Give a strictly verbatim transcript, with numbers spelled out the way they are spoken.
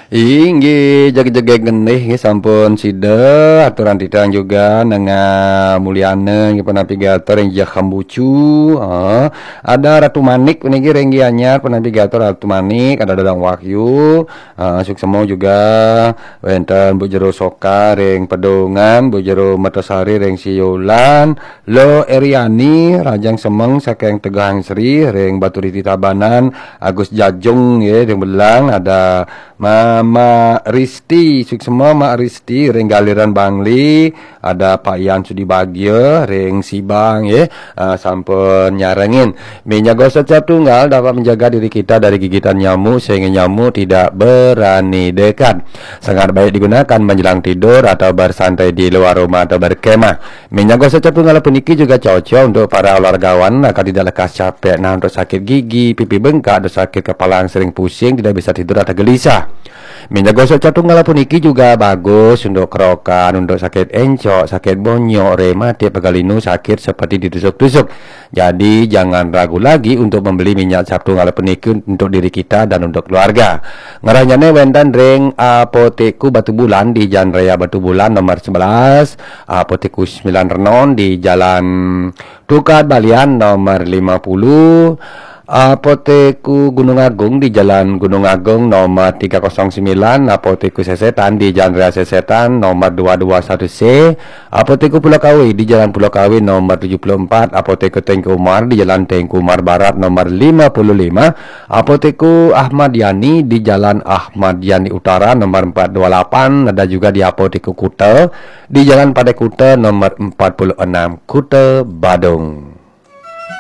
Inggih, jegég-jegég genih nggih sampun sida, aturan titiang juga Nengah Mulyana nggih, penapigator ring Jah Kambucu. Ha, ada Ratu Manik puniki ring Gianyar, penapigator Ratu Manik, ada Dadang Wahyu, ha, suksema juga wénten Bu Jero Soka ring Pedungan, Bu Jero Mertasari ring Siulan, Lo Eriani, Rajang Semeng saking Tegahan Sri ring Baturiti Tabanan, Agus Jajung nggih ring Belang, ada Mama Risti, suksema Mak Risti ring Galiran Bangli, ada Pak Yan Sudi Bagia ring Sibang nggih, ah, sampun nyarengin. Minyak gosok cap tunggal dapat menjaga diri kita dari gigitan nyamuk sehingga nyamuk tidak berani dekat. Sangat baik digunakan menjelang tidur atau bersantai di luar rumah atau berkemah. Minyak gosok cap tunggal puniki juga cocok untuk para olahragawan agar tidak lekas capek. Nah, untuk sakit gigi, pipi bengkak, untuk sakit kepala yang sering pusing, tidak bisa tidur atau gelisah. Minyak gosok cap tunggal puniki juga bagus untuk kerokan, untuk sakit encok, sakit bonyok, rematik, pegal linu, sakit seperti ditusuk-tusuk. Jadi, jangan ragu lagi untuk membeli minyak cap tunggal puniki untuk diri kita dan untuk keluarga. Ngrahayane wénten ring Apotekku Batubulan di Jalan Raya Batubulan nomor sebelas, Apotekku Sembilan Renon di Jalan Tukad Balian nomor lima puluh, Apotekku Gunung Agung di Jalan Gunung Agung nomor tiga kosong sembilan, Apotekku Sesetan di Jalan Raya Sesetan nomor dua dua satu C, Apotekku Pulau Kawe di Jalan Pulau Kawe nomor tujuh puluh empat, Apotekku Teuku Umar di Jalan Teuku Umar Barat nomor lima puluh lima, Apotekku Ahmad Yani di Jalan Ahmad Yani Utara nomor empat dua lapan, ada juga di Apotekku Kuta di Jalan Pantai Kuta nomor empat puluh enam, Kuta Badung.